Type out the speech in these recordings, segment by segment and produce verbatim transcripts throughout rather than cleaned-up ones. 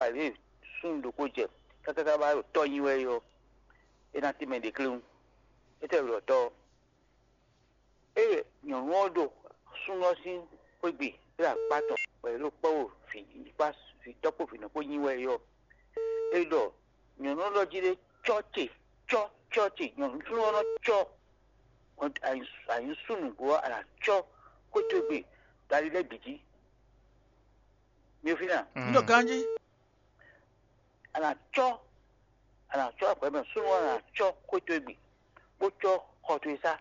Alě súnnu ɖokpó jɛ káká ká wá ɖo tɔ́ nyi wɛ é ɔ́, é ná tínmɛ ɖě klewún. É tɛ́ wɛ ɖɔ tɔ́ ɔ́? Ée nyɔ̌nu ɔ́ ɖo súnnu ɔ́ sín xwé gbe ɖo akpá tɔn bɔ è ɖo kpɔ́ ɖo vǐ kpá vǐtɔ́ kpó vǐnɔ kpó nyi wɛ é ɔ́, é ɖɔ nyɔ̌nu ɔ́ ɖɔ jí ɖé cɔ́ ce, cɔ́ cɔ́ ce, nyɔ̌nu súnnu ɔ́ nɔ cɔ́ anyǐsúnnu nǔgbó ɔ́, a nǎ cɔ́ xwé towe gbe ɖo ali lɛ́ɛ bǐ jí. Mi ò fínɛ́ a? Un ɖo ganjí. A nǎ cɔ́, a nǎ cɔ́ agbɛ̌mɛ súnnu ɔ́, a nǎ cɔ́ xwé towe gbe, bó cɔ́ xɔ towe sá,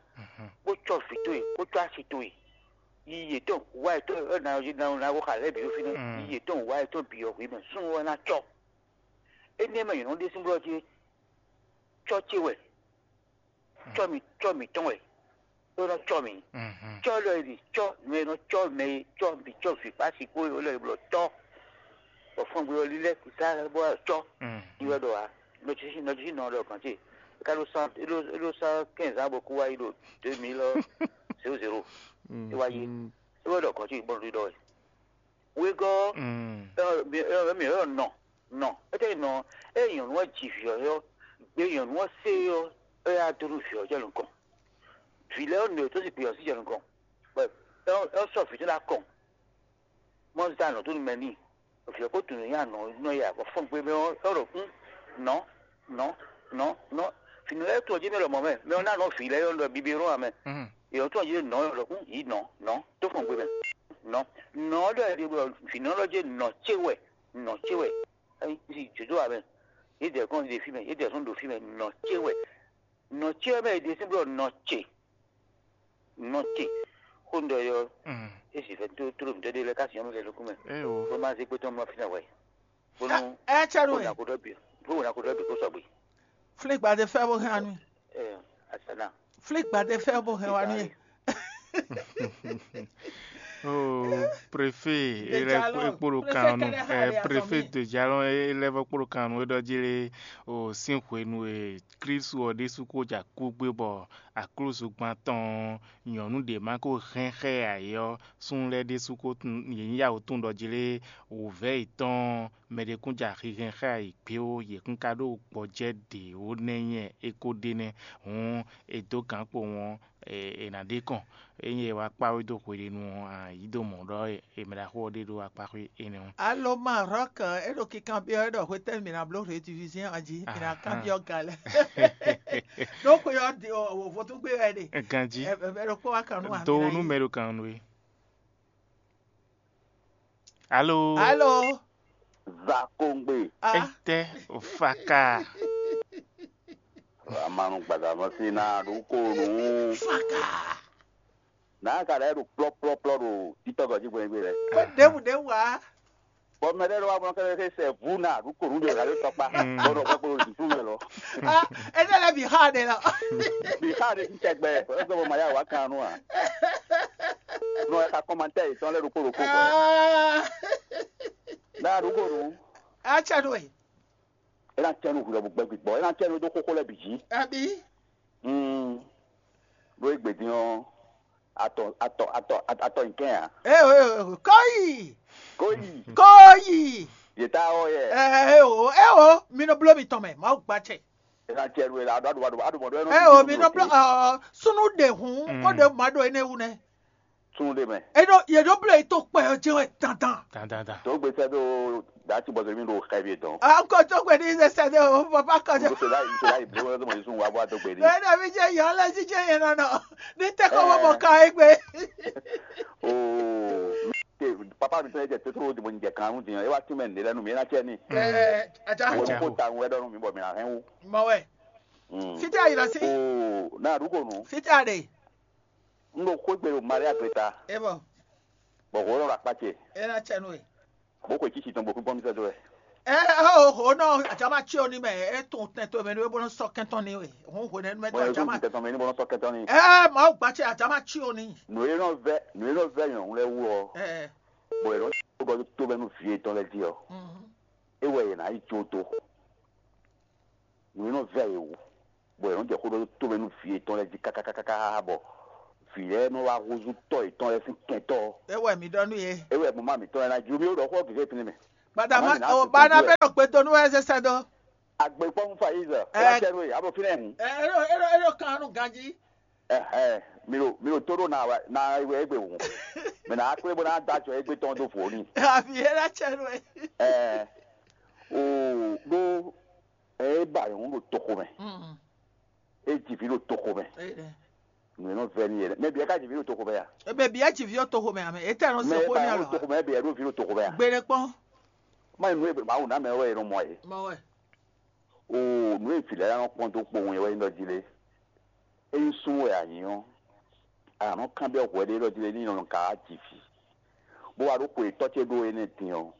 bó cɔ́ vǐ towe, bó cɔ́ asi towe. Yiyi yětɔn wá yětɔn ɔ́ ná ná ná xo xa lɛ́ɛ bǐ ɖo fínɛ́. Yiyi yětɔn wá yětɔn bǐ ɔ́ hwǐ mɛ súnnu ɔ́ ná cɔ́. Énɛ́ mɛ nyɔ̌nu ɖésú blɔ́ jí cɔ́ ce wɛ, cɔ́ mi cɔ́ mǐtɔn wɛ, é nɔ cɔ́ mǐ. Cɔ́ lɔ e ɖi cɔ́ nǔ e nɔ cɔ́ mɛ e cɔ́ bǐ cɔ́ vǐ kpá asi kpó é lɔ e blɔ cɔ́. Bɔ fɔngbe ɔ́ lílɛ́ sá bó wá cɔ́. Yi wɛ ɖɔ ǎ, nɔjúsí nɔjúsí nɔ ɖɔ gǎn ce, é ka ɖó sán é ɖó é ɖó sán kɛ́nzán bɔ kú wá yi ɖo deux mille zéro zéro. É wá yi é wɛ ɖɔ gǎn ce bɔ ɖɔ wɛ. Wegɔ́ ɔ́, mǐ ɔ́ nɔ nɔ é tɛ́ nɔ ée nyɔ̌nu ɔ́ ji vǐ ɔ́ ɔ́, gbe nyɔ̌nu ɔ́ se ɔ́, é yá dó nú vǐ ɔ́ jɛ nukɔn. Vǐ lɛ́ɛ ɔ́ nɔ yětɔn sín gbe ɔ́ sín jɛ nukɔn, bɔ é ɔ́ sɔ́ vǐ tɔn ná kɔn, mɔ zán nǔ dó nú mɛ n'i, vǐ ɔ́ ko tunwun nyi anɔ nɔ ya bɔ fɔ́n gbe mɛ ɔ́ é ɖɔ kún nɔ nɔ nɔ nɔ vǐnu lɛ́ɛ tɔn jí mɛ lɔmɔ̌ mɛ, mɛ ɔ́ ná nɔ vǐ lɛ́ɛ ɔ́ ɖɔ bibi rɔ́n ame. Yě ɔ́ tɔn jí nɔ é ɖɔ kún yǐ nɔ nɔ tó fɔ́n gbe mɛ nɔ nɔ ɔ́ ɖɔ vǐnu ɔ́ ɖɔ jí nɔ ce wɛ nɔ ce wɛ. Yi Judó ame, yě dɛ kɔn ɖe fí mɛ, yě dɛ sɔn ɖo fí mɛ, nɔ ce wɛ, nɔ ce wɛ mɛ è ɖe sín blɔ nɔ ce, nɔ ce. Xó un ɖɔ yɔ, é sì fɛ tó tló mǐtɔn ɖé lɛ́ɛ ká sin ɔ́ mɛ fɛ nukún mɛ, bó má zé kpé tɔn mɔ fínɛ́ hwɛ, bónú ɛ cɛ nú bó ɛ ná kó ɖɔ bǐ, bó ná kó ɖɔ bǐ kó sɔgbe. Flin gbadé fɛ bó hɛn wá nú Ɛ, asana. Flin gbadé fɛ bó hɛn wá nú ɛ. Oh, préfet Dejalon, ekpolo préfet kan nu kɛnɛ ha eh, ɖe azɔn préfet mi. Dejalon elɛvɔ kpolo kan nu edɔ dzi le o sin hwenu e Kristu ɔ ɖésú ko ja kú gbé bɔ aklúzu gban tɔn nyɔ̌nu ɖě ma ko hɛn xɛ ayé ɔ súnnu lɛ́ɛ ɖésú ko tun yě nyí yawo tun ɖɔ jí lé wǔvɛ́ yětɔn mɛɖé kún ja xixɛn xá yi gbé ó yě kún ka ɖó gbɔjɛ́ ɖě ó nɛ́ nyɛ é ko ɖe nɛ́ hǔn è dó gǎn kpo wɔn è nǎ ɖe kɔn ényí è wá kpá wé dó hweɖénu ɔ́ a yǐ dó mɔ̌ ɖɔ è mɛ ɖaxó ɔ́ ɖe ɖó akpá xwé énɛ́ ɔ́. Alo Maroc, é ɖo kikan byɔ́ é ɖɔ hwetɛ́nu mǐ ná bló rédivision ɔ́ jí, mǐ ná kan byɔ́ ga lɛ́ɛ. Ɖó xwe ɔ́ di ɔ vodúngbe wɛ ɖe. Ganjí Ɛ ɛ ɖokpó wá kan nú wa. Do nú mɛ ɖo kan nú é. Alo. Alo. Zakongbe. Ah, Etɛ faka. Amanu gbadamɔsi na ɖu ko nu. Faka. N'a ka ɖe ɖo kplɔkplɔkplɔ ɖo titɔgɔ jí gbɛngbɛ lɛ. Kó ɖěbǔ ɖěbǔ wá. Bɔn mɛ ɖe ɖo wa mɔ kɛlɛ kɛ sɛ vu na ɖu ko nu ɖe la ɖo tɔkpa. Bɔn ɖo kpɛkpɛ ɖo dusu mɛ lɔ. Ah, é ɖe lɛ́ bǐ xá ɖe lɔ. Bi xa ɖe ti tɛgbɛ. Ɛsɛ bɔ ma ya wa kan nu a. Nɔ ɛka kɔmantɛ yi tɔn lɛ ɖo kpolo kpokpɔ. Ah, N'a ɖu ko nu. atsɛ ɖo ɛ. Ena tɛnu hu lɛ bu gbɛ gbigbɔ. Ena tɛnu do koko lɛ bi dzi. Abi. Hmm. Ɖo egbe din ɔ. Atɔ atɔ atɔ atɔ nkɛn a. Eo eo kɔyi Koyi. kɔyi. Yeta ɔ yɛ. Eo eo mi nɔ bló mi tɔn mɛ, Mawu gbatsɛ. Ena tɛnu la aɖo aɖo aɖo aɖo mɔ ɖo ɛnu. Eo mi nɔ bló ɔ sunu ɖe hun kó ɖe ma ɖo ene wu nɛ. Tún ɖe mɛ. Eɖo yeɖo bló yi tó kpɛ ɔ jɛ wɛ dandan. Dandandan. Tó gbèsè ɖo dati bɔsɛ mi ɖo xɛ bi dɔn. Ankɔ tó gbɛ ní sɛsɛ de o papa kɔjɔ. Ŋutsu la ŋutsu la yi blo wɛrɛ tó mɔ yíṣu wa bɔ adó gbè ní. Bẹ́ẹ̀ ni mi jẹ́ ìyá ọlẹ́ jíjẹ́ yẹn nana. Ní tẹ́kọ̀ wọ́n mọ̀ ká é gbé. Oo. Papa mi tẹ́lẹ̀ jẹ tótó di mo jẹ kan nu diyan. E wa tún mɛ nílẹ̀ nu mi na tiẹ̀ ni. Ẹ ajá. Wo ko ta ŋu wɛ dɔnu mi bɔ mi na hɛn wu. Mọ̀ wẹ̀. Fítí àyìnlá sí. Oo. Na àdúgbò nu. Fítí àdè. N lo kó gbèrò Maria Greta. Ẹ bọ̀. Bọ̀ kò lọ́ra kpákẹ́. Ẹ na tsẹ̀ nù ẹ̀. Bó kò tsitsi tɔn bó kú bọ́ mi sẹ́dọ̀ ẹ̀. Ẹ ẹ o hò náà àjàmá tí o ní mẹ ẹ tún tẹ tó mẹ ní wọ́n bọ́n sọ kẹ́tọ́ ní wẹ̀. Òun hò nínú mẹ́tọ́ Wọ́n yẹ kó àjàmá. ti tẹ̀tọ̀ mi ní bọ́lá sọ kẹ́tọ́ ni. Ẹ máa gbà tí àjàmá tí o ní. Nùyé náà vẹ́ nùyé náà vẹ́ yàn ń lẹ́ wú ọ. Ẹ Bọ̀ ẹ̀rọ tó bọ́ tó bẹ́nu fìyè tán lẹ́ di ọ. mhm. E wɛ yě ná yi tso to. Nǔ e nɔ vɛ yě wú, bɔ yě nɔ jɛ xó ɖó tó mɛ nú vǐ yětɔn lɛ́ɛ jí kákákáká bɔ vǐ lɛ́ɛ nɔ wá húzú tɔ́ yětɔn lɛ́ɛ sín kɛntɔ́. Ẹ wẹ̀ mí ɖɔ nú yě. É wɛ mɔ̌ ma mǐtɔn lɛ́ɛ ná jí mì ɖɔ xó gěgé pinnu mɛ. Gbadama o bana bɛ ɖo gbedo nú wɛ zɛ sɛ dó. Agbekpɔnu Faiz, ɛ, kpla cɛ nú e, abo fínɛ hun. Ɛ, ero ero ero kan nú ganji. Ɛhɛ, mi ɖo mi ɖo tó ɖo na wa na wɛ egbe hun. Mɛ na akplé bó na dó ajɔ egbe tɔn dó vǒ ni. Abi e la cɛ nú e. Ɛ, o ɖó ɛ ba yɔn ɖo toxo mɛ. Mm. E ji vi ɖo toxo mɛ. Nǔ e nɔ vɛ n'i yɛ ɖɛ. Mɛ bia ka ji vi ɖo toxo mɛ a? Ebe bia ji vi ɖo toxo mɛ a mɛ? Etɛ nɔ se xó ní alɔ. Mɛ bia ɖo vi ɖo toxo mɛ a? Gbeɖe kpɔn. Má nyí nǔ e Mawu ná mɛ wɛ è nɔ mɔ é. Mɔ wɛ. O nǔ e vǐ lɛ́ɛ nɔ kpɔn dó kpowun é wɛ nyí ɖɔ jí lé. Ényí súnnu wɛ a nyǐ ɔ́, a nǎ nɔ kanbyɔ́ hwɛ ɖé ɖɔ jí lé ní nɔ ka wá ji vǐ, bó wá ɖó xwe tɔ́ ce ɖó énɛ́ din ɔ́,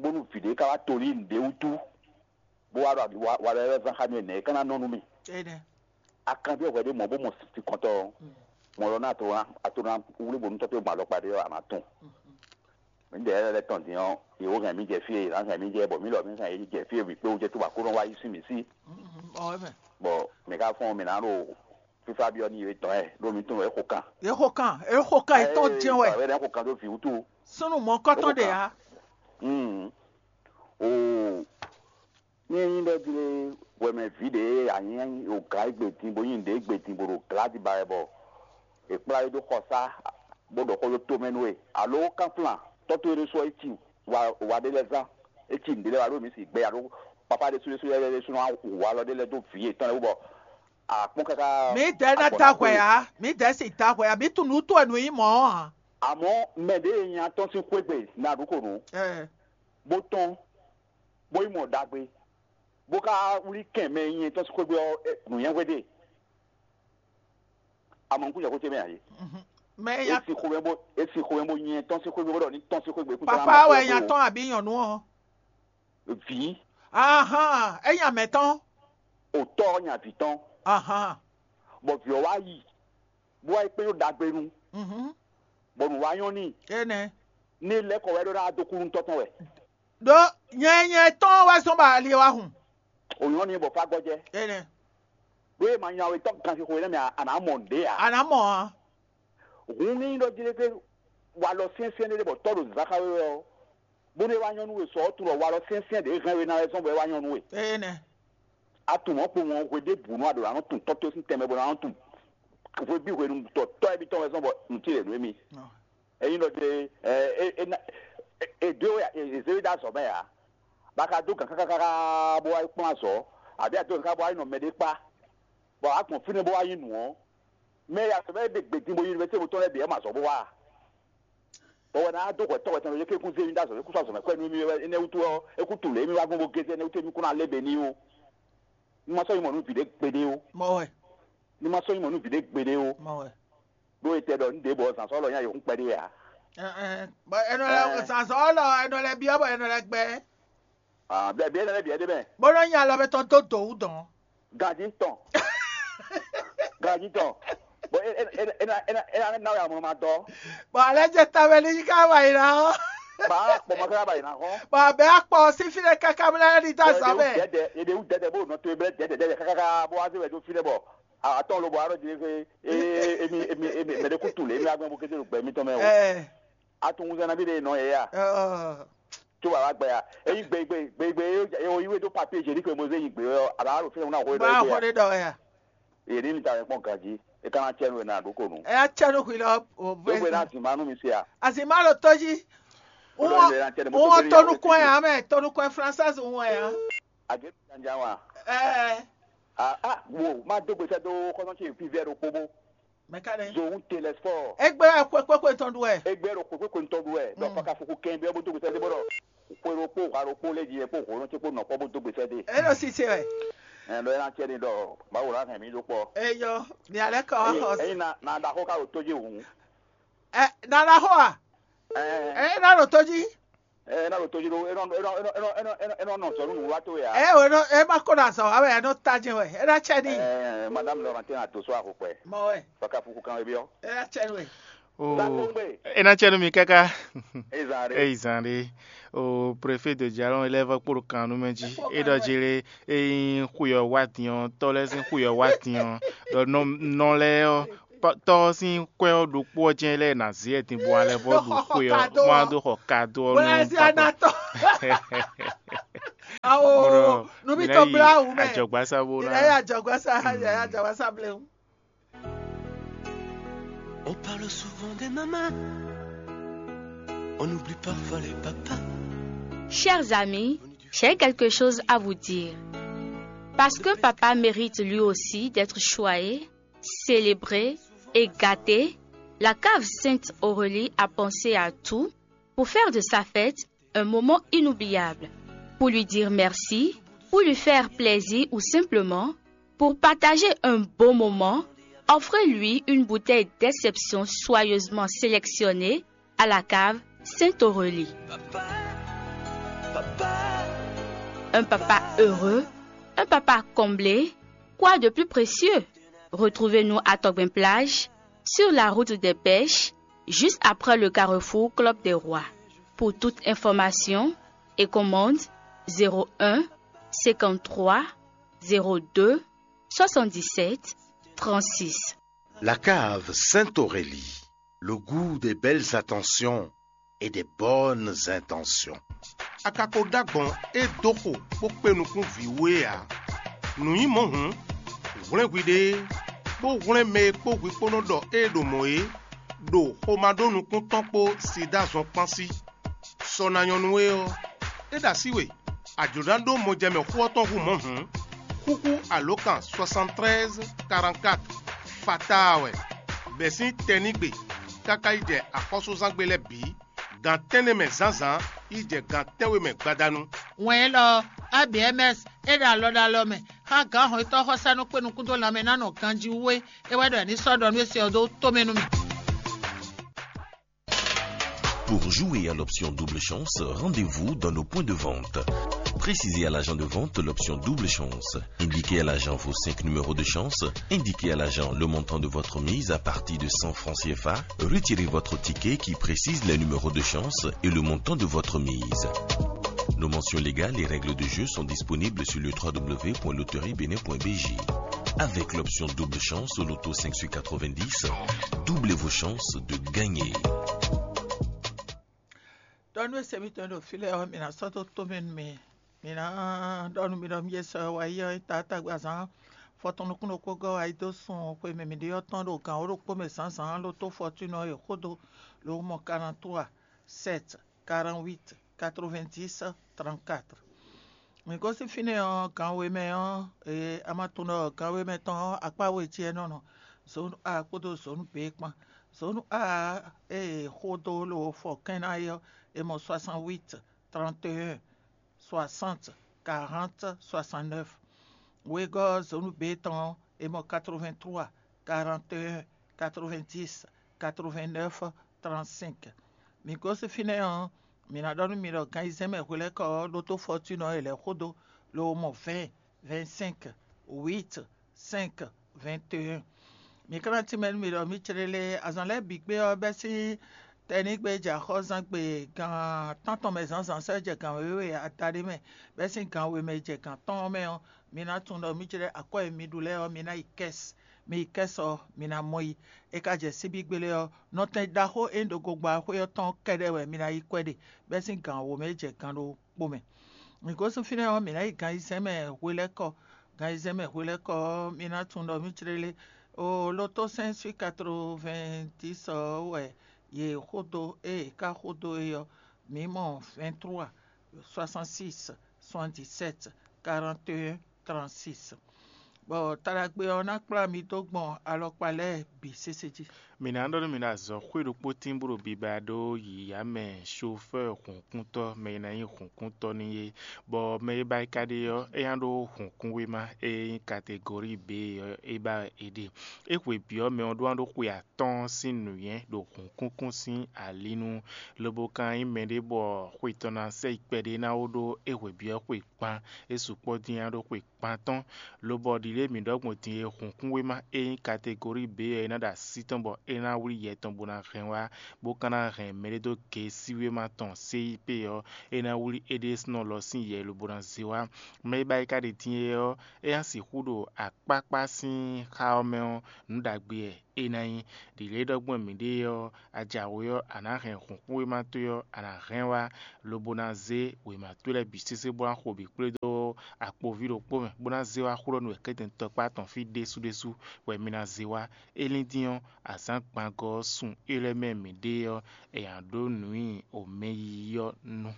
bónú vǐ ɖé ka wá tolí nǔɖé wútu, bó wá ɖɔ wa wa lɛ́ zán xá nú énɛ́ é ka ná nɔ nú mì. Énɛ́. A kanbyɔ́ hwɛ ɖé mɔ̌ bó mɔ sinkɔntɔ́ ɔ́, mɔ̌ lɔ ná a to ná a to ná wlí bǒ nú tɔ́ towe gbɔn alɔkpa ɖé ɔ́, a nǎ tunwun. Mǐdɛɛ lɛ́ɛ lɛ́ tɔn din ɔ́, yě wó hɛn mì jɛ fí e yě ná hɛn mì jɛ, bɔ mǐ lɔ mǐ hɛn yě jɛ fí e vǐ kpé wú jɛ tó bɔ Aklúnɔ wá yí sín mǐ sí. Bɔ mǐ ka fɔ́n mǐ ná ɖo fífá byɔ́ n'i é tɔn ɛ ɖó mi tunwun é xo kan. É xo kan, é xo kan, é tɔn jɛ́n wɛ. Ɛ ɛ xo kan ɖó vǐ wútu. Súnnu mɔ̌kɔtɔn ɖe ǎ. Mm. Oo. Ní é nyí ɖɔ jí lé, hwɛmɛ vǐ ɖě e a nyí ogǎn e gbe din bó nyí nǔɖé e gbe din bó ɖo glǎdi ba wɛ bɔ è kplá we dó xɔsá bó ɖɔ xó ɖó tomɛ nú we, alo kánflán tɔ́ towe ɖésú ɔ́, é ci wa wa ɖé lɛ́ɛ zán, é ci nǔɖé lɛ́ɛ wa ɖó mǐ si gbɛ alo papá ɖésú ɖésú lɛ́ɛ ɖésú ná hu alɔ ɖé lɛ́ɛ dó vǐ yětɔn lɛ́ɛ wú bɔ a kpɔ́n káká. Mǐdɛɛ ná da hwɛ ǎ, mǐdɛɛ si da hwɛ ǎ, mǐ tunwun nǔ towe nǔ nyí mɔ̌ ǎ. Amɔ̌ mɛ ɖě e nya tɔ́n sín xwé gbe ná ɖu xo nǔ, bó tɔ́n, bó yi mɔ ɖagbe, bó ka wlí kɛn mɛ e nyɛ tɔ́n sín xwé gbe ɔ́, nǔnywɛ́ hwe ɖe. Amɔ nukúnjɛ xó ce mɛ ǎ é. Mɛ e E sin xomɛ bó e sin xomɛ bó nyɛ tɔ́n sín xwé gbe bó ɖɔ ní tɔ́n sín xwé gbe kún sɔ́ ná papa mɔ wɛ xwé nya xwé o. Tɔn abi nyɔ̌nu ɔ́? Vǐ. Ahan, é nya mɛ tɔn. O tɔ́ ɔ́ nya vǐ tɔn. Ahan. Bɔ vǐ ɔ́ wá yi, bó wá yi kpé ɖó ɖagbe nu, Mhm. Bɔ nǔ wá nyɔ́ n'i. Énɛ́. Ní lɛ́ kɔ wɛ ɖó ná dó kú nú tɔ́ tɔn wɛ. Ɖó nyɛ nyɛ tɔn wɛ zɔn bɔ ali wá hun. O nyɔ́ n'i bɔ fá gbɔjɛ. Énɛ́. Ɖó e ma nya we tɔ́ ganxixo énɛ́ mɛ a nǎ mɔ nǔɖé ǎ. A nǎ mɔ ǎ. Hun ní nyí ɖɔ jí ɖé pé walɔ syɛ́nsyɛ́n ɖé ɖé bɔ tɔ́ ɖo zǎn xá we wɛ ɔ́, bónú é wá nyɔ́ nú we sɔ ɔ́ tunwun ɖɔ walɔ syɛ́nsyɛ́n ɖě hɛn we ná wɛ zɔ́n bɔ é wá nyɔ́ nú we. Énɛ́. A tunwun mɔ̌ kpowun ɔ́ hwe ɖěbǔ nú a ɖǒ ná nɔ tunwun tɔ́ towe sín tɛnmɛ bó ná nɔ tunwun hweví hwenu tɔ tɔ́ ɛ bitɔ́ wɛ zɔ́n bɔ nǔ cí lě nú émí. Ényí ɖɔ ɖe ɛ é é ná é dó é zé we ɖó azɔ̌ mɛ ǎ, bɔ a ka dó gǎn káká káká bó wá yi kplɔ́n azɔ̌, abǐ a dó gǎn káká bó wá yi nɔ mɛɖé kpá, bɔ a gbɔn fínɛ́ bó wá yi nǔ ɔ́, mɛ e azɔ̌ mɛ é ɖe gbe din bó yi nú mɛ tɛ́nwe tɔn lɛ́ɛ bǐ wɛ mɔ azɔ̌ bó wá a? Bɔ wɛ ná dó hwɛ̌ tɔ́ hwɛ̌ tɔn ɖo yě ké kún zé mì ɖó azɔ̌ mɛ kú sɔ́ azɔ̌ mɛ kwɛ́ nú mì wɛ énɛ́ wútu ɔ́, é kú tunwun lě e mì wá gbɔn bó gézé énɛ́ wútu émí kún ná lé be n'i ó. Ní ma sɔ́ nyí mɔ̌ nú vǐ ɖé gbeɖé ó. Mɔ wɛ. Ní ma sɔ́ nyí mɔ̌ nú vǐ ɖé gbeɖé ó. Mɔ wɛ. Ɖó e tɛ ɖɔ ní ɖěbǔ ɔ́, zǎn sɔ́ lɔ nyí ayǐkún kpɛɖé ǎ. Ɛ ɛ bɔ ɛnɔ lɛ Ɛɛ. Zǎn sɔ́ lɔ ɛnɔ lɛ byɔ́ bɔ ɛnɔ lɛ gbɛ. Ah, bia bia lɛ bia de mɛ. Bó nɔ́ nya alɔ mɛ tɔn dó dǒ wú dɔn. Ganji tɔn. Ganji tɔn. Bon, e e e e na e na e na na ya mo ma dɔ. Bɔn alɛ jɛ tawɛ ni yi ka wa yi na ɔ. Ba kpɔ ma ka ba yi na hɔn. Bɔn abɛ akpɔ si fi ɖe kaka mi na ni da zɔ mɛ. Dɛdɛ ye de wu dɛdɛ bo nɔ to ye bɛ dɛdɛ dɛdɛ kaka bo wa se wɛ do fi ɖe bɔ. Atɔn lo bɔ arɔ di ke e emi emi emi mɛ de ku tu le emi agbɛn bo kete lo gbɛ mi tɔn mɛ o. Ɛ. Atun wunzɛ na bi de nɔ ye ya. Ɔ. Tso baba gbɛ ya. Eyi gbe gbe gbe gbe e o yi we do papier hygiénique mo ze yi gbe ɔ a ba alo fɛn na hɔ e dɔ. Ba hɔ de dɔ ya. Ye ni ta kpɔn ganji e kana cɛ nu na do ko nu. Ɛ ya cɛ nu hui lɔ o. Do gbe na zin ma nu mi se a. Azin ma lo to ji. Wọ́n tó nu kɔn ya mɛ, tó nu kɔn française wọn ya. Age janja wa. Ɛ. A a wo ma do gbe sɛ do kɔsɔn ce fi vɛ do kpobo. Mɛkane. Zowun Telesfɔ. Egbe wɛ kwe kwe kwe tɔn du wɛ. Egbe ɖo kwe kwe kwe tɔn du wɛ. Dɔ faka fuku kɛn bi ɔbu dogbe sɛde bɔdɔ. Kwe ɖo kpo ha ɖo kpo lɛ ji yɛ kpo ho nɔ ce kpo nɔ kpɔ bo dogbe sɛde. E ɖo sise wɛ. Ɛ lɔ yɛ na cɛ ni dɔ bawo la hɛn mi do kpɔ. Eyɔ, ni alɛ kɔ wa xɔ. Eyi na na da xɔ ka ɖo to ji wu. Ɛ nana xɔ a? Ɛ. Ɛ na ɖo to ji. Ɛ na ɖo to ji ɖo e nɔ e nɔ e nɔ e nɔ e nɔ e nɔ e nɔ nɔ zɔ nunu wa to ya. Ɛ o e nɔ e ma ko na zɔ wa wɛ e nɔ ta jɛ wɛ e na cɛ ni. Ɛ madame Laurentine a to so a ko kpɛ. Mɔ wɛ. Faka fuku kan ebi ɔ. E na cɛ ni wɛ. O e na cɛ nu mi kaka. Ezan re. Ezan re. O préfet de Djalon élève kpóɖo kan nu mɛ jí. E ɖɔ jí lé e yin xuyɔ wa diɔn tɔ lɛ sin xuyɔ wa diɔn. Ɖɔ nɔ nɔ lɛ ɔ tɔ sin kwɛ ɔ ɖokpó ɔ jɛn lɛ na zi ɛ din bɔ alɛ bɔ ɖo xuyɔ ma do xɔ kado ɔ nu. Awo, nubitɔ blawu mɛ. Ajɔgbasa bo na. Yaya ajɔgbasa, yaya ajɔgbasa blewu. On parle souvent des mamans. On oublie parfois les papas. Chers amis, j'ai quelque chose à vous dire. Parce qu'un papa mérite lui aussi d'être choyé, célébré et gâté, la cave Sainte Aurélie a pensé à tout pour faire de sa fête un moment inoubliable. Pour lui dire merci, pour lui faire plaisir ou simplement pour partager un beau moment, offrez-lui une bouteille d'exception soigneusement sélectionnée à la cave Sainte Aurélie. Un papa heureux, un papa comblé, quoi de plus précieux? Retrouvez-nous à Togben Plage, sur la route des pêches, juste après le carrefour Club des Rois. Pour toute information et commande, zéro un cinquante-trois zéro deux soixante-dix-sept trente-six. La cave Sainte-Aurélie, le goût des belles attentions et des bonnes intentions. A ka ko ɖó agbɔ̌n e dó xo bó kpé nukún vǐ wú é ǎ. Nǔ nyí mɔ̌ hǔn, hwlɛ́n hwiɖée, bó hwlɛ́n mɛ e kpó hwi kpó nɔ ɖɔ ée ɖo mɔ̌ é, ɖo xomá ɖó nukún tɔn kpó sida zɔn kpán sí. Sɔ ná nyɔ́ nú we ɔ́, é ɖo así we, a jlǒ ná ɖó mɔjɛmɛ xó ɔ́ tɔn hú mɔ̌ hǔn, xúxú alǒkan soixante-treize quarante-quatre fataa wɛ, bɛ̌ sín tɛnígbe káká yi jɛ axɔ́súzángbe lɛ́ɛ bǐ, gan tɛ́nnɛ mɛ zǎnzǎn yi jɛ gan tɛ́nwe mɛ gbadanu. Wɛn élɔ́ ɔ́, A B M S é ɖo alɔ ɖo alɔ mɛ xá gǎn hɔnnyitɔ́ xɔsánú kpé nukún dó lanmɛ ná nɔ ganjí wú é, é wɛ ɖɔ è ní sɔ́ ɖɔ nú é se ɔ́ dó tó mɛ nú mì. Pour jouer à l'option double chance, rendez-vous dans nos points de vente. Précisez à l'agent de vente l'option double chance. Indiquez à l'agent vos cinq numéros de chance. Indiquez à l'agent le montant de votre mise à partir de cent francs C F A. Retirez votre ticket qui précise les numéros de chance et le montant de votre mise. Nos mentions légales et règles de jeu sont disponibles sur le www.loteriebenin.bj. Avec l'option double chance au loto cinq sur quatre-vingt-dix, doublez vos chances de gagner. Tɔnu e se mitɔn ɖo fí lɛ́ɛ ɔ́, mi ná sɔ́ dó tó mɛ nú mi. Mi ná ɖɔ nú mi ɖɔ mì e sɔ wá yi ɔ́, taatagbe azǎn fɔtɔn nukún ɖokpó gɔ́ wá yi dó sun xwe mɛ mǐ ɖe ɔ́ tɔn ɖo gǎn wǒ ɖokpó mɛ zǎnzǎn loto fɔtúnɔ e xó dó lǒ mɔ quarante-trois sept quarante-huit quatre-vingt-dix trente-quatre. Mǐ gosín fínɛ́ ɔ́, gan we mɛ ɔ́, e a ma tunwun ɖɔ gan we mɛ tɔn ɔ́, akpá we jí é nɔ nɔ, zǒnu A kpódó zǒnu B kpán. Zǒnu A e xó dó lǒ fɔ kɛ́n ná é ɔ́, è mɔ soixante-huit trente et un soixante quarante soixante-neuf. Wegɔ́ zǒnu B tɔn ɔ́, è mɔ quatre-vingt-trois quarante et un quatre-vingt-dix quatre-vingt-neuf trente-cinq. Mǐ gosín fínɛ́ ɔ́, mǐ ná ɖɔ nú mi ɖɔ gan ayizɛ́n mɛ hwelɛ́kɔ ɔ́ ɖótó fɔtúnɔ e lɛ̌ xó dó, lobo mɔ vingt vingt-cinq huit cinq vingt et un. Mǐ ka ná tínmɛ nú mi ɖɔ mǐ céɖélé azǎn lɛ́ɛ bǐ gbe ɔ́ bɛ́ sín tɛnígbe jɛ axɔ́zán gbe gan tántɔn mɛ zǎnzǎn sɔ́ jɛ gan wěwe adaɖé mɛ, bɛ́ sín gan we mɛ jɛ gan tɔn ɔ́ mɛ ɔ́, mi ná tunwun ɖɔ mǐ céɖé akwɛ́ e mi ɖu lɛ́ɛ ɔ́, mi ná yi kɛ́si. Mi kɛ́si ɔ́, mi ná mɔ yi. É ka jɛ síbí gbélé ɔ́, nɔtɛn ɖaxó e nyí ɖo gogba xwé ɔ́ tɔn kɛ́ɖɛ́ wɛ mi ná yi kwɛ́ ɖe, bɛ́ sín gan wǒ mɛ jɛ gan ɖokpó mɛ. Mǐ gosín fínɛ́ ɔ́, mǐ ná yi gan ayizɛ́n mɛ hwelɛ́kɔ, gan ayizɛ́n mɛ hwelɛ́kɔ ɔ́, mi ná tunwun ɖɔ mǐ céɖélé. O loto cinq sur quatre-vingt-dix ɔ́ wɛ yě xó dó, ée yě ka xó dó é ɔ́, mǐ mɔ vingt-trois soixante-six soixante-dix-sept quarante et un trente-six. Bɔ taɖagbe ɔ́ ná kplá mi dó gbɔn alɔkpa lɛ́ɛ bǐ sésé jí. Mǐ ná ɖɔ nú mi ɖɔ azɔ̌ xwé ɖokpó tín bó ɖo biba ɖó yǐyá mɛ, sofɛ́ɛ hǔnkúntɔ́, mɛ e ná nyí hǔnkúntɔ́ n'i é, bɔ mɛ e ba yi ka ɖe ɔ́, é ná ɖó hǔnkúnwéma e nyí kategori B ɔ́, é ba wɛ è ɖe. É hwe byɔ́ mɛ ɔ́ ɖó ná ɖó xwe atɔ́ɔ́n sín nǔnywɛ́ ɖo hǔnkúnkún sín ali nu, lobo ka nyí mɛɖé bɔ xwe tɔn ná sɛ yi kpɛɖé ná wó ɖó é hwe byɔ́ xwe kpán, é sukpɔ́ dín ná ɖó xwe kpán tɔn, lobɔ ɖiɖe mǐ ɖɔ gbɔn din e hǔnkúnwéma e nyí kategori B ɔ́ é ná ɖo así tɔn bɔ é ná wlí yɛ tɔn bó ná hɛn wá, bó ka ná hɛn mɛɖé dó gesíwéma tɔn C I P ɔ́, é ná wlí éɖésúnɔ lɔ sín yɛ lobo ná zé wá. Mɛ e ba yi ka ɖe din é ɔ́, é ná sixú ɖo akpákpá sín xá ɔ́ mɛ ɔ́, nǔ ɖagbe wɛ é ná nyí. Ɖi lě e ɖɔ gbɔn mǐɖée ɔ́, a jǎwe ɔ́, a nǎ hɛn hǔnxúwéma towe ɔ́, a nǎ hɛn wá, lobo ná zé wěma towe lɛ́ɛ bǐ sésé bó ná xo bǐ kplé dó akpoví ɖokpó mɛ, bó ná zé wá xlɔ́ nú wɛ̌kɛ́tɛn tɔkpá tɔn fí ɖésú ɖésú wɛ mi ná zé wá. É lín dín ɔ́, azǎn gbangɔ ɔ́ sun é lɛ́ɛ mɛ mǐɖée ɔ́, è nǎ ɖó nǔ nyi omɛ yiyi ɔ́ nu.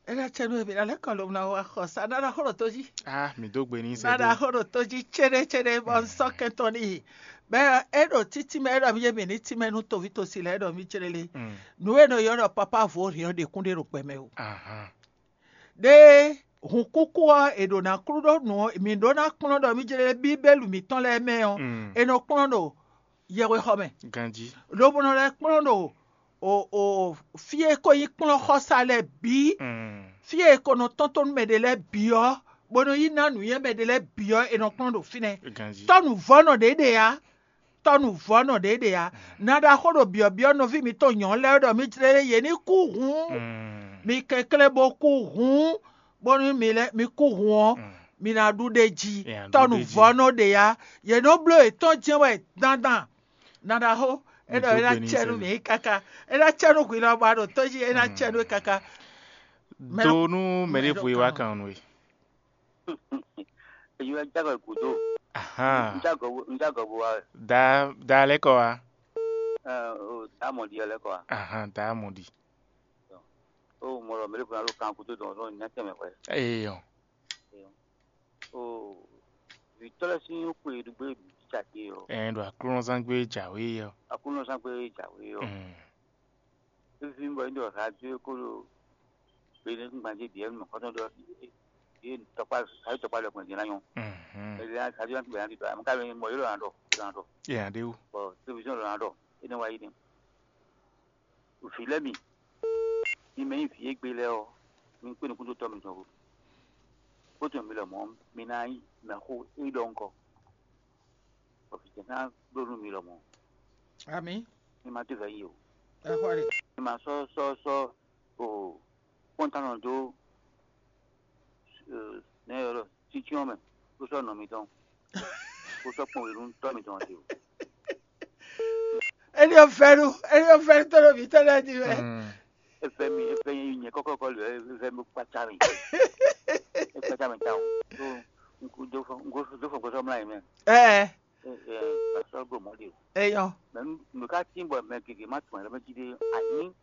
É ná cɛ nú we, mǐ ná lɛ́ kɔ lobo ná wá xɔ sa ná ná xlɔ́ tó jí. Ah, mǐ dó gbe n'i sɛ́ ná ná dó. Xlɔ́ tó jí céɖécéɖé bɔ un sɔ́ kɛntɔn n'i. Bɛ́ é ɖo títí mɛ é ɖɔ mì yé mǐ ní tínmɛ nú toví tosi lɛ́ɛ é ɖɔ mì jlé lé. Mm. Nǔ e nɔ ylɔ́ ɖɔ papá vo hǐn ɔ́ ɖě kún ɖe ɖo gbɛ mɛ o. Ahan. Ɖé hunkúkú ɔ́ è ɖǒ ná klú ɖó nǔ ɔ́, mǐ ɖó ná kplɔ́n ɖɔ mì jlé Bíbélù mǐtɔn lɛ́ɛ mɛ ɔ́, Mm. è nɔ kplɔ́n ɖo yɛhwexɔ mɛ. Ganjí. Lobo nɔ lɛ́ kplɔ́n ɖo o o fí e ko nyí kplɔ́nxɔsa lɛ́ɛ bǐ, Mm. fí e ko nɔ tɔ́n tó nú mɛ ɖé lɛ́ɛ bǐ ɔ́, bó nɔ yi ná nǔnywɛ́ mɛ ɖé lɛ́ɛ bǐ ɔ́, è nɔ kplɔ́n ɖo fínɛ́. Ganjí. Tɔ́ nǔvɔ́nɔ ɖě ɖe ǎ, tɔ́ nǔvɔ́nɔ ɖě ɖe ǎ. Ná ɖaxó ɖo byɔ̌byɔ́ nɔví mitɔn nyɔ̌nu lɛ́ɛ ɖɔ mì jlé lé yě ní kú hǔn, Mm. mi kɛnklɛ́n bó kú hǔn, bónú mi lɛ́ mi kú hǔn ɔ́, Mm. mi ná ɖu ɖ'é jí. È nǎ ɖu ɖ'é jí. Tɔ́ nǔvɔ́nɔ ɖě ǎ, yě nɔ bló yětɔn jɛ́n wɛ dandan. Nadaxó, é ɖɔ é ná cɛ nú mǐ káká, é ná cɛ nú hwi lɔ bɔ a ɖo tó jí, é ná cɛ nú we káká. Mɛ- Do nú mɛ ɖěvo e wá kan nú we. Èyí wá jágɔ gǔdo. Ahan. N jágɔ bo n jágɔ bo wá wɛ. Da da lɛ́ kɔ wá. Ɛ o dá mɔ ɖi ɔ lɛ́ kɔ wá. Ahan, da mɔ ɖi. O mɔ ɖɔ mɛ ɖěvo ná ɖo kan gúdo dɔn dɔn nya tɛnmɛ hwɛ. Eyɔ. O vǐtɔ́ lɛ́ɛ sín xwe ɖu gbé bǐ cake ɔ. Ɛn ɖo aklúnɔzán gbé jǎwe ɔ. Aklúnɔzán gbé jǎwe ɔ. Mm. Fífí bɔ é ɖo radio ko ɖo gbe ne kún gbanjé bǐ ɛnu mɔ̌kɔtɔn ɖɔ yé tɔkpá ayé tɔkpá lɛ gbɔn jɛ ná nyɔ. Mhm. Ɛlɛ radio ná ti bɛ ná ti dɔ amɛ ká bɛ mɔ yé lɔ ná ɖɔ yé lɔ ná ɖɔ. Yé ná ɖe wú. Bɔ télévision lɔ ná ɖɔ é nɛ wá yi nɛ. Vǐ lɛ́ɛ mi, mi mɛ nyí vǐ e gbe lɛ́ɛ ɔ́, mi kpé nukún dó tɔ́ mitɔn go. Bó tunwun mi lɔmɔ̌, mi ná nyí mɛxó e ɖɔ ŋkɔ, bɔ vǐ ce ná bló nú mi lɔmɔ̌. Amǐ. Mi ma dó vɛ̌ yi o. Ɛ xɔ ɖe. Mi ma sɔ́ sɔ́ sɔ́ o kpɔ́ntánɔ dó nɛ̌ ylɔ́ ɖɔ sincyɔ́n mɛ, bó sɔ́ nɔ mitɔn, bó sɔ́ kpɔn we nú tɔ́ mitɔn ɔ́ te o. Éní ɔ́ vɛ́nu, éní ɔ́ vɛ́nu tɔ́ ɖo mǐtɔn lɛ́ɛ jí wɛ. É vɛ́ mi, é vɛ́ nyɛ kɔ́kɔ́kɔ́ lě é vɛ́ mi kpácá mì. É kpácá mì tawun. Tó un kú dó fɔ un kú dó fɔ gbɔsɔ mlá yě mɛ. Ɛɛ, É é ma sɔ́ ɖo mɔ̌ ɖe o. Eyɔ. Mɛ nu nu ká tín bɔ mɛ gěgé má tunwun ayǐ lɔ mɛ jí ɖé. Anyí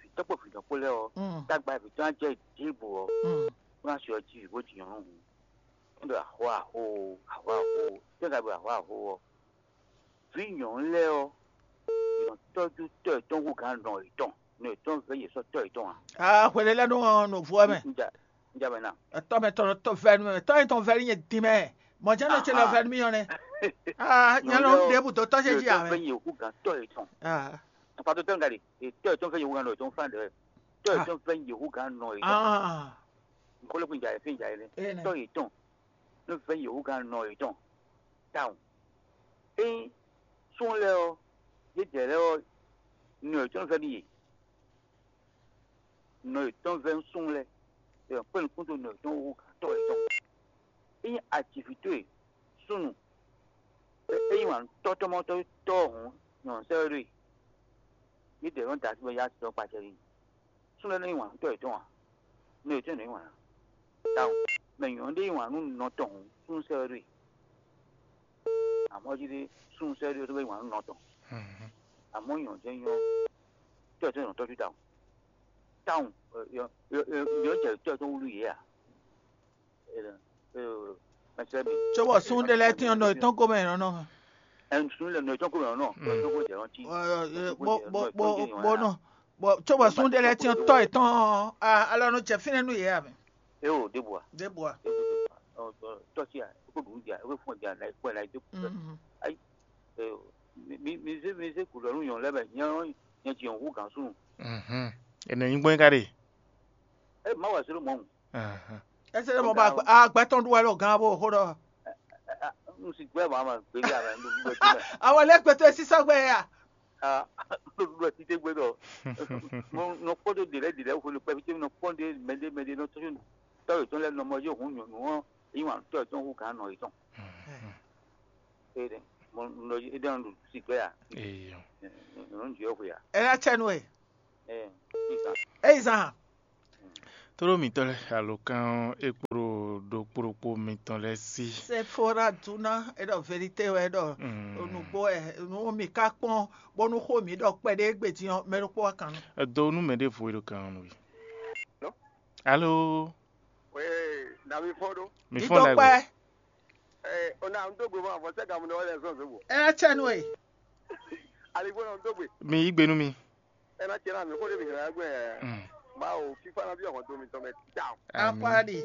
vǐtɔ́ kpó vǐnɔ kpó lɛ́ɛ ɔ́, Mm. tágbá vǐtɔ́ ná jɛ ɖěbǔ ɔ́, Mm. bó ná sɔ́ jí vǐ bó jǐ nyɔ̌nu hǔn. É ɖo axó axó o, axó axó o, tɛ́ ka ɖo axó axó ɔ́? Vǐ nyɔ̌nu lɛ́ɛ ɔ́, è nɔ tɔ́jú tɔ́ yětɔn hú gǎn nɔ yětɔn, nɔ yětɔn vɛ́ yě sɔ́ tɔ́ yětɔn ǎ. Aa, hwelelɛ́nu ɔ́ nɔ vo ɛ mɛ. Un ja un ja mɛ ná. Etɔ́ mɛ tɔn tɔ́ vɛ́ nú mɛ, tɔ́ nyɛ tɔn vɛ́ nú nyɛ dín mɛ. Mɔ̌ jɛ́n nɔ ce lɔ Aha. Vɛ́ nú mì ɔ́ nɛ́. Aa, nyɛ lɔ ɖěbǔ dó tɔ́ ce jí ǎ mɛ. Vɛ́ yě hú gǎn tɔ́ yětɔn. Aa. Tɔkpatɔ tɔ́ nɔ ɖe, tɔ́ yětɔn vɛ́ yě hú gǎn nɔ yětɔn fán ɖɛ. Tɔ́ yětɔn vɛ́ yě hú gǎn nɔ yětɔn. Aa. Nkɔlɔ kún ja yɛ fín ja yɛ lɛ. Ene. Tɔ́ yětɔn nɔ vɛ́ yě hú gǎn nɔ yětɔn. Tawun. Ényí sún lɛ́ɛ ɔ́, yědɛɛ lɛ́ɛ ɔ́, nɔ yětɔn vɛ́ nú yě. Nɔ yětɔn vɛ́ nú sún lɛ́ɛ, è nɔ kpé nukún dó nɔ yětɔn hú gǎn tɔ́ yětɔn. Ényí a ji vǐ towe súnnu, é é yí wǎn nú tɔ́ tɔ́mɔtɔ́ tɔ́ hǔn, nyɔ̌nu sɛ́ wɛ ɖó e. Yědɛɛ nɔ da así bɔ yá tɔ́ kpa acɛ n'i. Súnnu lɛ́ɛ nɔ yí wǎn nú tɔ́ yětɔn ǎ. Nɔ yětɔn nɔ yí wǎn ná. Tawun, mɛ nyɔ̌nu ɖé yí wǎn nú nɔ tɔn hǔn, súnnu sɛ́ wɛ ɖó e. Amɔ̌ jí ɖé súnnu sɛ́ ɖé ɔ́ tó bɛ́ nyi wǎn nú nɔ tɔn. Amɔ̌ nyɔ̌nu jɛ́n nyɔ́ tɔ́ yětɔn nɔ tɔ́jú tawun. Tawun, nyɔ̌nu jɛ tɔ́ yětɔn wúlú yě a? Mɛsɛ́ mi. Cóbɔ súnnu ɖé lɛ́ɛ tín ɔ́, nɔ yětɔn ko mɛ è nɔ nɔ. Ɛn súnnu lɛ nɔ yětɔn ko mɛ è nɔ nɔ. Tɔ́ yětɔn ko jɛ ɔ́ cí. Bó bó bó bó nɔ. Bɔ cóbɔ súnnu ɖé lɛ́ɛ tín ɔ́, tɔ́ yětɔn ɔ́, alɔ nɔ jɛ fínɛ́ nú yě a mɛ. É o ɖěbǔ a? Ɖěbǔ a? Tɔ́ cí a? É ko ɖu nǔ jí a? É ko fún ɔ jí a? Là yi kpɔ́n ɛ, là yi dó kpɔ́n ɛ. Ayi. Mi mi zé mi zé gǔ ɖɔ nú nyɔ̌nu lɛ́ɛ bɔ nyɛ ɔ́, nyɛ ji nyɔ̌nu hú gǎn súnnu. Ɛnɛ nyí gbɔn ka ɖe. É má wa zé ɖó mɔ̌. Ɛsɛ lɛ mɔ bɔ agbɛ tɔn ɖu wɛ ɖo gán bó xó ɖɔ. Un si gbɛ ma ma gbeli ame ɖo ɖo ti mɛ. Awɔ lɛ gbɛtɔ esi sɔgbɛ ya. Ah, ɖo ɖo ti te gbɛ dɔ. Mo no kpɔ do de lɛ de lɛ ko le pɛ fite no kpɔ de mɛ de mɛ de no to to to le no mo yo hun no no. Yi wan to to hu kan no yi ton. E de. Mo no e de no si gbɛ ya. Eyo. No nji ko ya. Ela chenu e. Eh. Isa. Ei zan. Tlóló mǐtɔn lɛ́ɛ alǒkan ɔ́ é kpo ɖo ɖokpó ɖokpó mitɔn lɛ́ɛ sí. Sefora duna e ɖɔ verite wɛ ɖɔ nǔgbó wɛ nú mì ka kpɔn bónú xó mǐ ɖɔ kpɛɖé égbé din ɔ́, mɛ ɖokpó wá kan nú. Èdó nú mɛ ɖěvo e ɖo kan ɔ́ nú we. Alo. Wee, na mi fɔn ɖo. Mi fɔn ɖagbe. Idɔkpɛ. Ɛ, ona n dó gbe fún afɔ sɛ gamu ɖe wɛ lɛ sɔn zobo. Ɛ tsɛ nu e. Aligbó na n dó gbe. Mi yí gbe nú mi. Ena tiɛ na mi xó ɖe mi hɛn gbɛ. Mawu fifa na bi ɔkɔn to mi tɔn mɛ ta. Akwadi.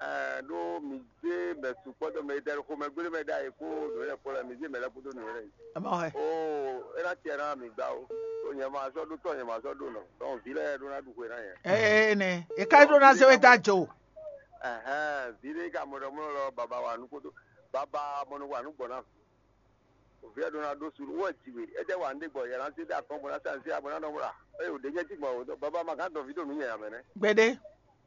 Ɛ ɖo mi dé mɛ sukpɔ dɔ mɛ dɛ xo mɛ gbélé mɛ da yi kó nuyɛ kó lɛ mi dé mɛ lɛ kó dó nuyɛ. Ama hɛ. O ena tiɛ na mi gba o. O nyɛ ma sɔ ɖo tɔ nyɛ ma sɔ ɖo nɔ. Donc vi lɛ ɖo na ɖu xwe na yɛ. Ee ne e ka ɖo na se we da jo. Ɛhɛn vi ɖe ka mɔ ɖɔ mɔ lɔ baba wa nu kó dó baba mɔ nu wa nu gbɔ na. Via ɖo na ɖó sunu wɔ ji we ete wa nɖe gbɔ yɛ na se da kɔn bɔ na sa se abɔ na nɔ wla eye o ɖe nyɛ ti gbɔ o baba ma ka dɔn vi ɖo nu nyɛ amɛ nɛ. Gbede.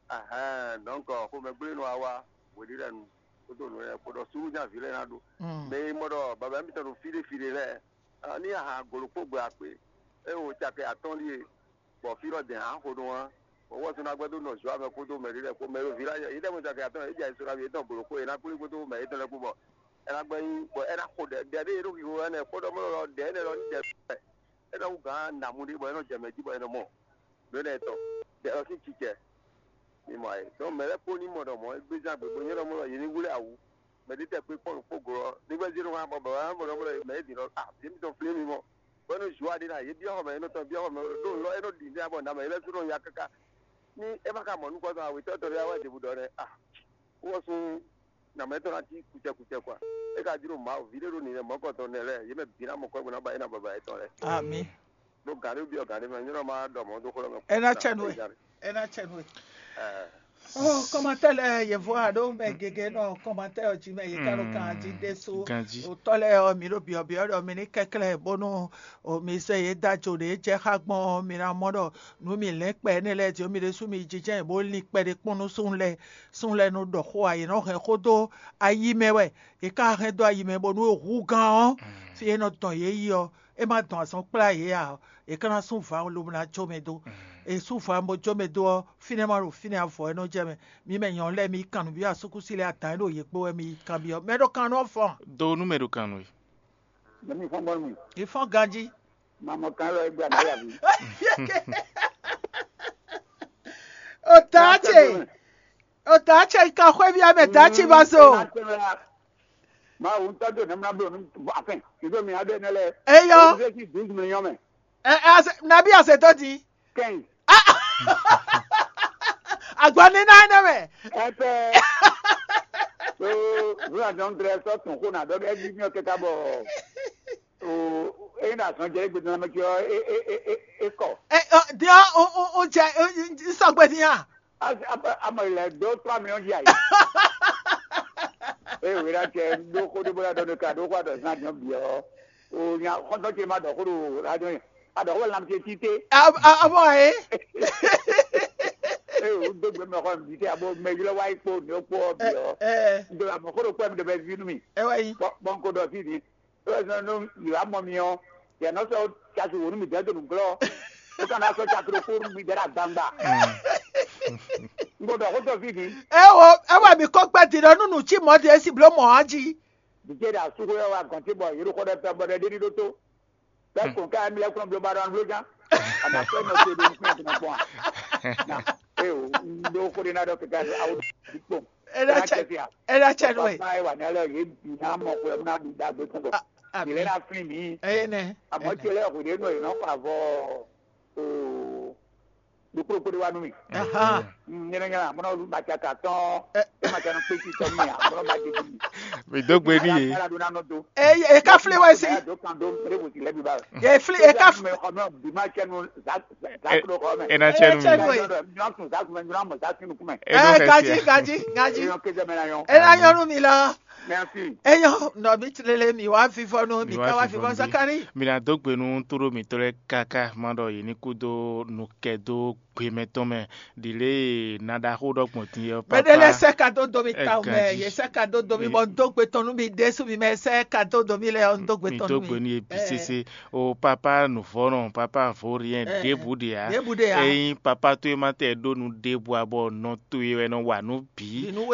Ahɛn donc xomɛ gblé nu awa wòɖi lɛ nu kótó nu yɛ kó ɖɔ sunu nya vi lɛ na ɖo. Mɛ e mɔ ɖɔ baba mi tɔn ɖo fi ɖe fi ɖe lɛ ni aha golo kpó gbe akpe eye o cakɛ atɔn ɖie bɔ fí lɔ dɛn ǎ xo nú ɔ́, bɔ wɔ sɔ́ ná gbɛ́ dó nɔ Zɔ́a mɛ kpódó mɛ ɖé lɛ́ɛ kpó mɛ e ɖo vǐ lɛ́ɛ yě ɖɛ́ mɔ caki atɔ́ɔ́n yě jɛ ayǐ sɔ́ ná ví yětɔn gblǒ kpó yě ná kplí kpódó mɛ yětɔn lɛ́ɛ kpó bɔ é ná gbɛ́ nyí bɔ é ná xo ɖɛ ɖɛ ɖé e ɖo xixo wɛ nɛ́ kpódó mɔ lɔ ɖɛ énɛ́ lɔ ní jɛ é ná wú gǎn nǎmu ɖé bɔ é nɔ jɛ mɛ jí bɔ é nɔ mɔ nǔ énɛ́ tɔn ɖɛ lɔ sín cicɛ. Mi mɔ ayǐ. Donc mɛ lɛ́ɛ kpó ní mɔ ɖɔ mɔ̌ é gbéján gběgbó nyɔ́ ɖɔ mɔ lɔ yě ní wlé awǔ. Mɛ ɖé tɛ kpé kpɔ́n ɖo kpó glo ɔ́, ní gbɛ́ zé nɔ wá bɔ bɔ wá bɔ ɖɔ mɛ é dǐn ɖɔ ah vǐ mitɔn flé mi mɔ. Bɔ é nɔ zu aɖé ná yě byɔ́ xɔ mɛ é nɔ tɔn byɔ́ xɔ mɛ ɖó lɔ é nɔ ɖi nɛ́ bɔ nǎ mɛ é lɛ́ sú nɔ ya káká. Ní é ma ka mɔ nukɔn tɔn awětɔ́ tɔn ɖé wá wá ɖěbǔ ɖɔ nɛ́ ah wó ɔ́ sú nǎ mɛ tɔn ná cí kucɛkucɛ kɔa. É ka jló Mawu vǐ ɖé ɖo nǐnɛ́ mɔ̌kɔntɔn nɛ́ lɛ́ɛ yě mɛ bǐ ná mɔ kɔ́ bó ná ba é ná baba yětɔn lɛ́ɛ. Ami. Ɖó gǎn ɖé byɔ́ gǎn ɖé mɛ nyɔ́ ma ɖɔ mɔ̌ dó xó lɔ mɛ. É ná cɛ nú we. É ná cɛ nú we. Ɔ́ kɔmatɛ́ lɛ́ɛ yěvó a ɖó mɛ gěgé nɔ kɔmatɛ́ ɔ́ jí mɛ yě ká ɖo kan jí ɖésú. Ganjí. Otɔ́ lɛ́ɛ ɔ́ mi ɖo byɔ̌byɔ́ ɖɔ mi ní kɛnklɛ́n bónú mi zɛ yě da jo ɖě jɛ xá gbɔn ɔ́ mi ná mɔ ɖɔ nú mi lɛ́n kpɛ énɛ́ lɛ́ɛ jí mi ɖésú mi jínjɛ́n bó lin kpɛɖé kpɔ́n nú súnnu lɛ́ɛ. Súnnu lɛ́ɛ nɔ ɖɔ xó ǎ yě nɔ hɛn xó dó ayi mɛ wɛ. Yě ká hɛn dó ayi mɛ bónú húgán ɔ́ fí é nɔ dɔn yě yi ɔ́ é má dɔn azɔn kplá yě ǎ. È ka ná sú vǎ lobo ná jó mɛ dó. È sú vǎ bó jó mɛ dó ɔ́, fínɛ́ má ɖo fínɛ́ avɔ wɛ nɔ jɛ mɛ. Mi mɛ nyɔ̌nu lɛ́ɛ mi yi kan nǔ byɔ́ asúkúsi lɛ́ɛ adǎn e ɖo yě kpó wɛ mi yi kanbyɔ́. Mɛ ɖo kan nú ɔ́ fɔn. Do nú mɛ ɖo kan nú we. Mɛ mi fɔn bɔ mi. Mi fɔn ganjí. Mamɔ kan lɔ egbe ana yavi. O taa ce. O taa ce ka xwé byɔ́ mɛ taa ci ba so. Mawu ŋutɔ do nɛmla blo nu afin ido mi ade ne lɛ. Eyɔ. Owó fi dix millions mɛ. Ɛ ɛ ase nabi ase tó di. Quinze. Agba ní náà ní mɛ. Ɛtɛ. So vla jɔn drɛ sɔ tun ko na dɔ ɛbi mi kɛta bɔ o e na sɔn jɛ egbe dɔn mɛ tiɔ e e e e e kɔ. Ɛ ɔ diɔ o o o jɛ o sɔgbe diya. Ama ilẹ̀ dó trois millions di ayi. Ee wíwá tiẹ̀ dó kó dó bóyá dɔnni ká dó kó àdọ̀ sínú àjọ bì ọ́. O nya kọ́tọ́ tiẹ̀ máa dọ̀ kó do àjọ yẹn. Àdọ̀ kó lam tiẹ̀ títí. Àbọ̀ ẹ̀. Ee o dó gbé mẹ́kọ́ mi títí àbọ̀ mẹ́yìlá wáyé kpó ní ó kpó ọ bì ọ́. Ẹ Ndo àmọ́ kó do kpó ẹ̀ mi dẹ̀ bẹ́ẹ̀ fi nú mi. Ẹ wáyé. Bọ́n kó dọ̀ sí ni. Ewé sɔn nú yìí wá mɔ mi ɔ́, yɛ nɔ sɔ casi wò nú mi dɛ́ do nǔglɔ́. Ó ka ná sɔ casi ɖokpó nú mi dɛ́ ɖo agbangba. Un ko ɖɔ xó tɔn fí din. Ewo, ewa mi ko gbɛ din ɖɔ nú nǔ cí mɔ̌ din e si bló mɔ̌ á jí. Vǐ ce ɖo asúxwé ɔ́ wá gɔ̌n ce bɔ yě ɖo xɔ ɖɛ tɔn bɔ ɖɛ ɖé ɖi ɖó tó. Bɛ́ kɔn ká mi lɛ́ kplɔ́n bló ba ɖo anbló nya. A nǎ sɔ́ nɔ te ɖo nukún ẹ̀ tɔn kpɔn a? Na, eo, un ɖó xó ɖé ná ɖɔ kɛkɛ awu ɖi kpɔn. Ena cɛ ena cɛ nue. Papa wa ne lɛ ye bi na mɔ ko na du da gbe ko. Ami. Ile na fin mi. Eye ne. Amo che le ho de no no pa vo. O. Du kuro kuro wa nu mi. Aha. Nyere nyere mo no ba cha ka ton. E ma cha no pe ti to mi a mo ba de mi. Mi do gbe ni ye. Ala do na no do. E e ka fle wa si. Do kan do re wo ti le bi ba. E fle e ka. Me ko no bi ma che no za za ko ko me. Ena cɛ nu. Nyɔnu kun za kun nyɔnu mo za kun kun me. E no fɛ sia. Gaji gaji gaji. Nyɔnu ke jɛ me na yɔn. Ena yɔnu mi la. Merci. Eyɔ, nɔvi tlele mi wá vivɔ nú mi ka wá vivɔ Zakari. Mi ná dó gbe nú tóɖó mǐtɔn lɛ́ɛ káká má ɖɔ yě ní kú dó nukɛ dó gbe mɛtɔn mɛ. Ɖi lě e na ɖaxó ɖɔ gbɔn din ɛ Mɛɖe lɛ sɛ ka dó domi ta mɛ, yě sɛ ka dó domi bɔ n dó gbe tɔn nú mi ɖésú mi mɛ sɛ ka dó domi lɛ ɔ n dó gbe mi tɔn dó nú gbe mi. ní ebi sese o papa nuvɔnɔ papa vorien ɖěbǔ ɖe ya. Ɖěbǔ ɖe ya. Eyin papa towe ma tɛ ɖó nu ɖěbǔ abɔ nɔ towe wɛ nɔ wa nú bǐ. Bǐ nú